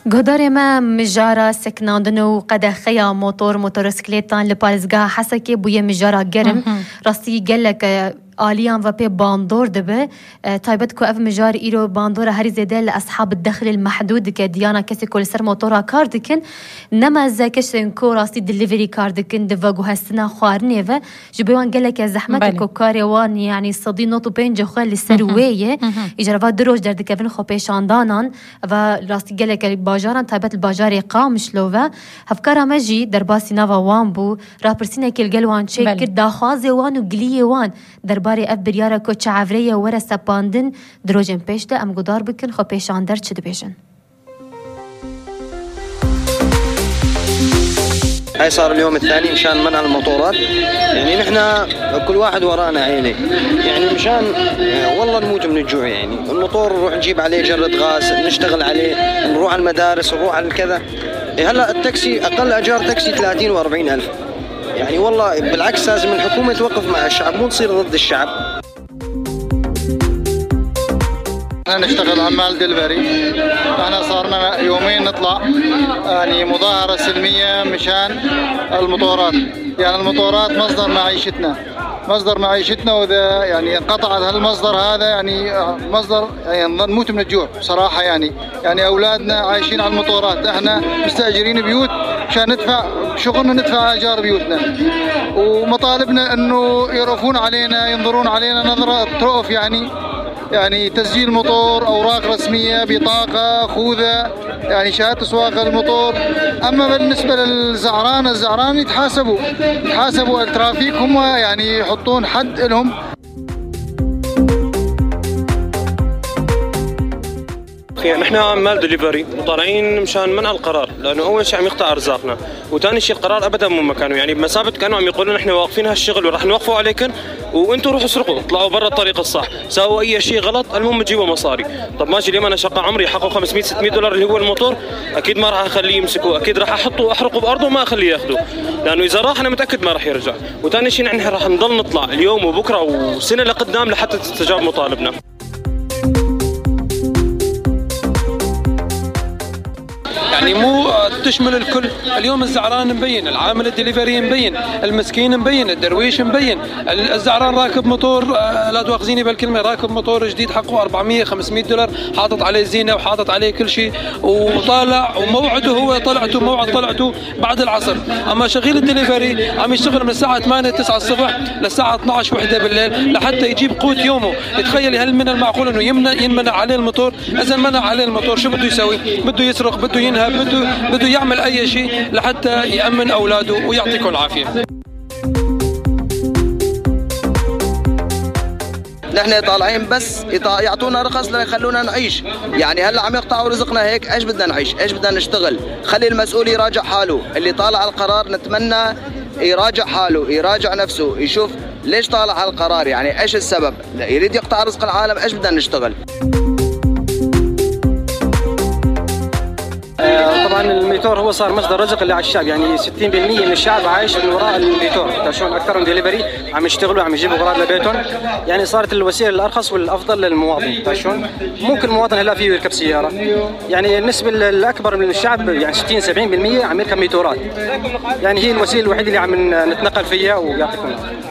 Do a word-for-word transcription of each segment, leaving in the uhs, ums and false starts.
Guhdarê me, mijara sekinandin û qedexeya motor, motosikletan li parêzgeha Hesekê bûye mijara germ. Mhm. Rastî gelek, e, aliyan ve pê bandor dibe. E, taybet ku ev mijar îro bandora herî zêde li eshab dexlil mehdûd dike, diyana kesê ku li ser motora kar dikin. Nema ze kesên ku rastî delivery kar dikin, di veguhestina xwarinê ve, ji bo wan geleke zehmet e Belê. ku karê wan, yanî sedî nod û pênc xwe li ser Mhm. wê ye. Mhm. Îcar va du roj derdikevin xwe pêşandanan. Va rastî gelek bajaran, taybet li bajarê Qamişlo ve, hevkara me jî derbasî nava wan bû, rapirsînekê li gel wan çêkir, Belê. daxwazê wan û giliyê wan derbarê ev biryara ku çaevrê ye were sepandin, di rojên pêş de em guhdar bikin, xwe pêşander çi dibêjin. هاي صار اليوم الثاني مشان منع المطورات. يعني نحن كل واحد ورانا عيلة. يعني مشان، آه، والله نموت من الجوع. يعني المطور نروح نجيب عليه جرة غاز، نشتغل عليه، نروح على المدارس، نروح على الكذا. إيه، هلأ التاكسي، أقل أجار تاكسي ثلاثين وأربعين ألف. يعني والله بالعكس لازم الحكومة توقف مع الشعب، مو تصير ضد الشعب. احنا نشتغل عمال دليفري. احنا صار لنا يومين نطلع، يعني، مظاهرة سلمية مشان المطورات. يعني، المطورات مصدر معيشتنا، مصدر معيشتنا، وإذا، يعني، انقطعت هالمصدر هذا، يعني، مصدر، يعني، نموت من الجوع بصراحة، يعني. يعني، أولادنا عايشين على المطورات، احنا مستأجرين بيوت مشان ندفع شغلنا، ندفع أجار بيوتنا. ومطالبنا إنه يرأفون علينا، ينظرون علينا نظرة رأف، يعني، يعني، تسجيل موتور، أوراق رسمية، بطاقة، خوذة، يعني، شهادة سواقة الموتور. أما بالنسبة للزعران، الزعران يتحاسبوا، يتحاسبوا الترافيك، هم، يعني، يحطون حد لهم. أخي، نحن عمال دليفري وطالعين مشان منع القرار، لأنه أول شيء عم يقطع أرزاقنا، وثاني شيء القرار أبدًا مو مكانه. يعني بمثابة كأنه عم يقول لنا: "نحن واقفين هالشغل ورح نوقفه عليكم، وأنتوا روحوا اسرقوا، اطلعوا برا الطريق الصح، ساووا أي شيء غلط، المهم تجيبوا مصاري." طب ماشي، اليوم أنا شقى عمري حقه خمسمية ستمية دولار اللي هو الموتور، أكيد ما راح أخليه يمسكه، أكيد راح أحطه وأحرقه بأرضه وما أخليه ياخده، لأنه إذا راح أنا متأكد ما راح يرجع. وثاني شيء نحن راح نضل نطلع اليوم وبكرة وسنة لقدام لحتى تستجاب مطالبنا. يعني مو تشمل الكل. اليوم الزعران مبين، العامل الدليفري مبين، المسكين مبين، الدرويش مبين. ال-، الزعران راكب موتور، آه، لا تؤاخذيني بالكلمة، راكب موتور جديد حقه أربعمية، خمسمية دولار، حاطط عليه زينة وحاطط عليه كل شيء، وطالع، وموعده هو طلعته، موعد طلعته بعد العصر. أما شغيل الدليفري عم يشتغل من الساعة ثمانية، تسعة الصبح للساعة اثنعش، وحدة بالليل لحتى يجيب قوت يومه. تخيلي، هل من المعقول إنه يمنع، ينمنع عليه الموتور؟ إذا منع عليه الموتور، شو بده يسوي؟ بده يسرق، بده ينهب، بده، بده يعمل أي شيء لحتى يأمن أولاده. ويعطيكم العافية. نحن طالعين بس يط-، يعطونا رخص ليخلونا نعيش. يعني هلا عم يقطعوا رزقنا هيك، ايش بدنا نعيش؟ ايش بدنا نشتغل؟ خلي المسؤول يراجع حاله. اللي طالع القرار نتمنى يراجع حاله، يراجع نفسه، يشوف ليش طالع هالقرار، يعني ايش السبب؟ لا، يريد يقطع رزق العالم، ايش بدنا نشتغل؟ آه، طبعًا الميتور هو صار مصدر رزق اللي على الشعب، يعني ستين بالمية من الشعب عايش من وراء الميتور. تا شلون أكثرهم ديليفري عم يشتغلوا، عم يجيبوا أغراض لبيتهم، يعني صارت الوسيلة الأرخص والأفضل للمواطن. تا شلون؟ مو كل مواطن هلا فيه يركب سيارة، يعني النسبة ال-، الأكبر من الشعب، يعني ستين سبعين بالمية عم يركب ميتورات، يعني هي الوسيلة الوحيدة اللي عم ن-، نتنقل فيها. ويعطيكم العافية.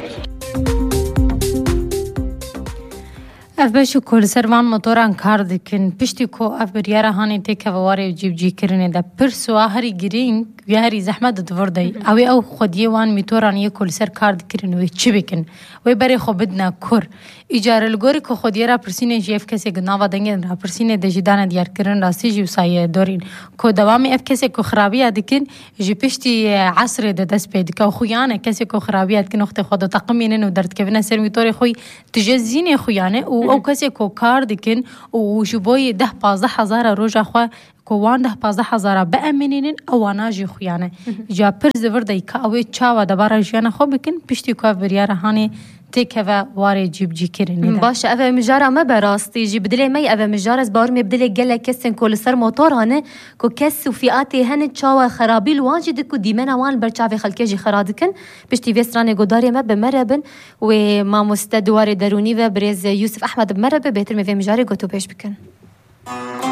Ev beş û ku li ser van motoran kar dikin, piştî ku ev biryara hanê têkeve warê cîbicîkirinê de, pirs û a herî girîng ya herî zehmet di vir de ye. Ew ê ew xwediyê wan mîtoran yê ku li ser kar dikirin wê çi bikin? Wê berê xwe bidine kur? Îcar li gorî ku xwediyê rapirsînê jî ev kesê di nava dengên rapirsînê de jî dane diyarkirin, rastî jî wisa ye dorîn ku dewamê ev kesê ku xirabiya dikin ji piştî, e, esrê de dest pê dike û xuyan e kesê ku xirabiya dikin wextê xwe diteqimînin û derdikevine ser mîtorê xwe. Tije zînê xuyan e û ew kesê ku kar dikin û ji bo yê deh pazdeh hezara roja xwe, ku wan deh pazdeh hezara biemînînin, ewana jî xuyan e. Ca pirs di vir de ka ew ê çawa debara jiyana xwe bikin, piştî ku ev biryara hanê têkeve warê cîbicîkirinê de. Baş e, ev e mijara me be rastî jî bi dilê me ye, ev e mijara, ez bawer im ê bi dilê gelek kesên ku li ser motoran e, ku kes û fîatê hene çawa xerabî li wan jî dikin û dîmena wan li ber çavê xelkê jî xera dikin. Piştî vê stranê guhdarê me bi me re bin, wê mamoste di warê derûnî ve birêz Yûsif Ehmed bi me re be, bêtir me vê mijarê gotûbêj bikin.